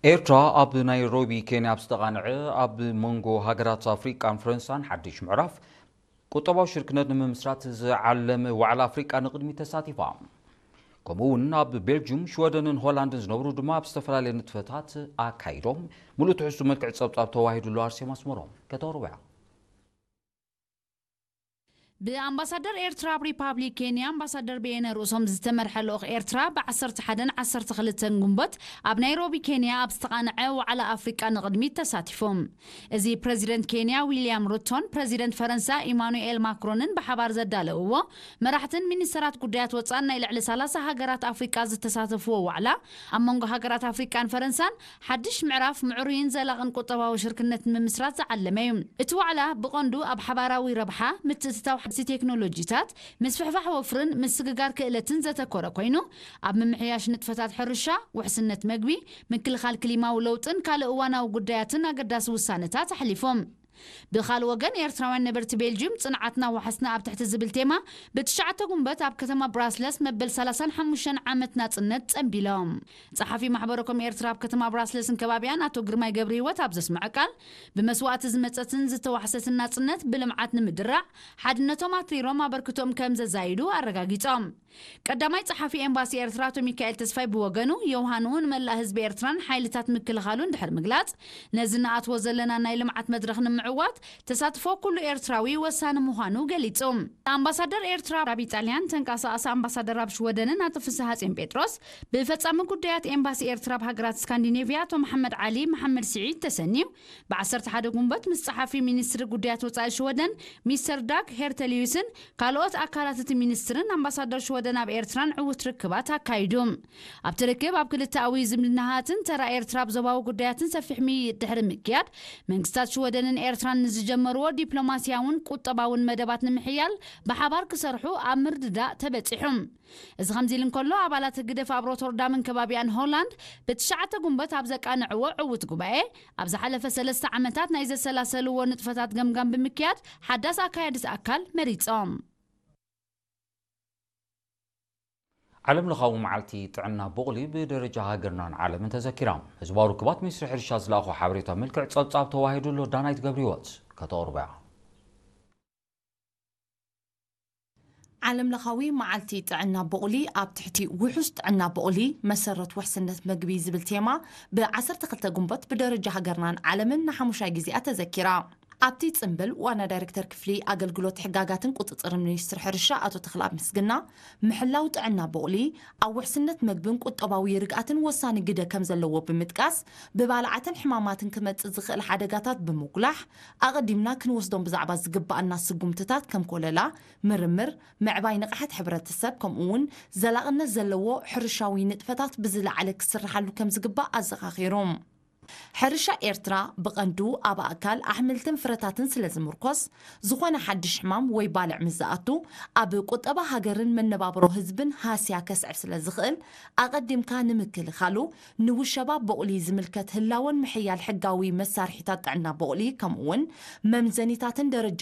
ኤርትራ ኣብ ናይሮቢ ኬንያ ኣብ ዝተቓንዐ ኣብ መንጎ ሃገራት ኣፍሪቃን ፈረንሳን ሓድሽ ምዕራፍ ቁጠባዊ ሽርክነት ንምምስራት ዝዓለመ ዋዕላ ኣፍሪቃ ንቕድሚት ተሳቲፋ። ከምኡ እውን ኣብ ቤልጅዩም፣ ሽወደንን ሆላንድን ዝነብሩ ድማ ኣብ ዝተፈላለየ ንጥፈታት ኣካይዶም። ሙሉእ ትሕዝቱ መልክዕ ጸብጻብ ተዋሂዱሉ። ኣርሴማ ኣስመሮም ከተቕርቦ እያ። ብኣምባሳደር ኤርትራ ኣብ ሪፓብሊክ ኬንያ ኣምባሳደር በየነ ርእሶም ዝተመርሐ ልኡኽ ኤርትራ ብ ዓሰርተ ሓደን ዓሰርተ ክልተን ግንቦት ኣብ ናይሮቢ ኬንያ ኣብ ዝተቓንዐ ዋዕላ ኣፍሪቃ ንቕድሚት ተሳቲፎም። እዚ ፕረዚደንት ኬንያ ዊልያም ሩቶን ፕረዚደንት ፈረንሳ ኢማኑኤል ማክሮንን ብሓባር ዘዳለውዎ፣ መራሕትን ሚኒስተራት ጉዳያት ወጻን ናይ ልዕሊ ሰላሳ ሃገራት ኣፍሪቃ ዝተሳተፍዎ ዋዕላ፣ ኣብ መንጎ ሃገራት ኣፍሪቃን ፈረንሳን ሓድሽ ምዕራፍ ምዕሩይን ዘላቕን ቁጠባዊ ሽርክነት ንምምስራት ዝዓለመ እዩ። እቲ ዋዕላ ብቐንዱ ኣብ ሓባራዊ ረብሓ፣ ምትእትታው ሓደስቲ ቴክኖሎጂታት፣ ምስፍሕፋሕ ወፍርን ምስግጋር ክእለትን ዘተኮረ ኮይኑ፣ ኣብ ምምሕያሽ ንጥፈታት ሕርሻ፣ ውሕስነት መግቢ፣ ምክልኻል ክሊማዊ ለውጥን ካልእ እዋናዊ ጉዳያትን ኣገዳሲ ውሳነታት ኣሕሊፎም። ብኻልእ ወገን፣ ኤርትራውያን ነበርቲ ቤልጅዩም፣ ጽንዓትና ዋሕስና ኣብ ትሕቲ ዝብል ቴማ፣ ብትሽዓተ ጉንበት ኣብ ከተማ ብራስለስ መበል ሰላሳን ሓሙሽተን ዓመት ናጽነት ጸንቢሎም። ጸሓፊ ማሕበረ ኮም ኤርትራ ኣብ ከተማ ብራስለስን ከባቢያን ኣቶ ግርማይ ገብረህይወት ኣብ ዘስምዐ ቃል፣ ብመስዋእቲ ዝመጸትን ዝተዋሕሰትን ናጽነት ብልምዓት ንምድራዕ ሓድነቶም ኣትሪሮም ኣበርክቶኦም ከም ዘዛይዱ ኣረጋጊጾም። ቀዳማይ ጸሓፊ ኤምባሲ ኤርትራ ኣቶ ሚካኤል ተስፋይ ብወገኑ፣ ዮውሃንኡ ንመላእ ህዝቢ ኤርትራን ሓይልታት ምክልኻሉን ድሕሪ ምግላጽ፣ ነዚ ንኣትዎ ዘለና ናይ ልምዓት መድረኽ ንምዕዋት ተሳትፎ ኩሉ ኤርትራዊ ወሳኒ ምዃኑ ገሊጹ። ኣምባሳደር ኤርትራ ኣብ ኢጣልያን ተንቀሳቓሲ ኣምባሳደር ኣብ ሽወደንን ኣቶ ፍስሃጽዮን ጴጥሮስ፣ ብፈጻሚ ጉዳያት ኤምባሲ ኤርትራ ኣብ ሃገራት ስካንዲኔቭያ ኣቶ መሓመድ ዓሊ መሓመድ ስዒድ ተሰንዩ፣ ብ ዓሰርተ ሓደ ጉንበት ምስ ጸሓፊ ሚኒስትሪ ጉዳያት ወጻኢ ሽወደን ሚስተር ዳግ ሄርተሊዩስን ካልኦት ኣካላት እቲ ሚኒስትርን ኣምባሳደር ሽወደን ኣብ ኤርትራን ዕዉት ርክባት ኣካይዱ። ኣብቲ ርክብ፣ ኣብ ክልተኣዊ ዝምድናታትን ተራ ኤርትራ ኣብ ዞባዊ ጉዳያትን ሰፊሕ ምይይጥ ድሕሪ ምክያድ፣ መንግስታት ሽወደንን ኤርትራን ንዝጀመርዎ ዲፕሎማስያውን ቁጠባውን መደባት ንምሕያል ብሓባር ክሰርሑ ኣብ ምርድዳእ ተበጺሑ። እዚ ከምዚ ኢሉ እንከሎ፣ ኣባላት ህግደፍ ኣብ ሮተርዳምን ከባቢኣን ሆላንድ ብትሽዓተ ጉንበት ኣብ ዘቃንዕዎ ዕዉት ጉባኤ፣ ኣብ ዝሓለፈ ሰለስተ ዓመታት ናይ ዘሰላሰልዎ ንጥፈታት ገምጋም ብምክያድ ሓዳስ ኣካያዲት ኣካል መሪጾም። ዓለም ለኻዊ መዓልቲ ጥዕና ቡቕሊ ብደረጃ ሃገርናን ዓለምን ተዘኪራ። ህዝባዊ ርክባት ሚኒስትሪ ሕርሻ ዝለኣኾ ሓበሬታ ምልክዕ ጸብጻብ ተዋሂዱ ኣሎ። ዳናይት ገብረህይወት ከተቕርቦ እያ። ዓለም ለኻዊ መዓልቲ ጥዕና ቡቕሊ ኣብ ትሕቲ ውሑስ ጥዕና ቡቕሊ መሰረት ውሕስነት መግቢ ዝብል ቴማ ብ ዓሰርተ ክልተ ጉንበት ብደረጃ ሃገርናን ዓለምን ንሓሙሻይ ግዜኣ ተዘኪራ። ኣብቲ ጽምብል ዋና ዳይሬክተር ክፍሊ ኣገልግሎት ሕጋጋትን ቁጽጽርን ሚኒስትሪ ሕርሻ ኣቶ ተኽለኣብ ምስግና፣ ምሕላው ጥዕና ቡቕሊ ኣብ ውሕስነት መግብን ቁጠባዊ ርግኣትን ወሳኒ ግደ ከም ዘለዎ ብምጥቃስ፣ ብባልዓትን ሕማማትን ክመጽእ ዝኽእል ሓደጋታት ብምጉላሕ፣ ኣቐዲምና ክንወስዶም ብዛዕባ ዝግባኣና ስጉምትታት ከም ኮለላ፣ ምርምር፣ ምዕባይ ንቕሓት ሕብረተሰብ፣ ከምኡ እውን ዘላቕነት ዘለዎ ሕርሻዊ ንጥፈታት ብዝለዓለ ክስርሓሉ ከም ዝግባእ ኣዘኻኺሩ። ሕርሻ ኤርትራ ብቐንዱ ኣብ ኣእካል ኣሕምልትን ፍረታትን ስለ ዝምርኮስ፣ ዝኾነ ሓድሽ ሕማም ወይ ባልዕ ምስ ዝኣቱ፣ ኣብ ቁጠባ ሃገርን መነባብሮ ህዝብን ሃስያ ከስዕብ ስለ ዝኽእል፣ ኣቐዲምካ ንምክልኻሉ ንውሸባ ቡቕሊ ዝምልከት ህላወን ምሕያል ሕጋዊ መሳርሒታት ጥዕና ቡቕሊ፣ ከምኡ እውን መምዘኒታትን ደረጃ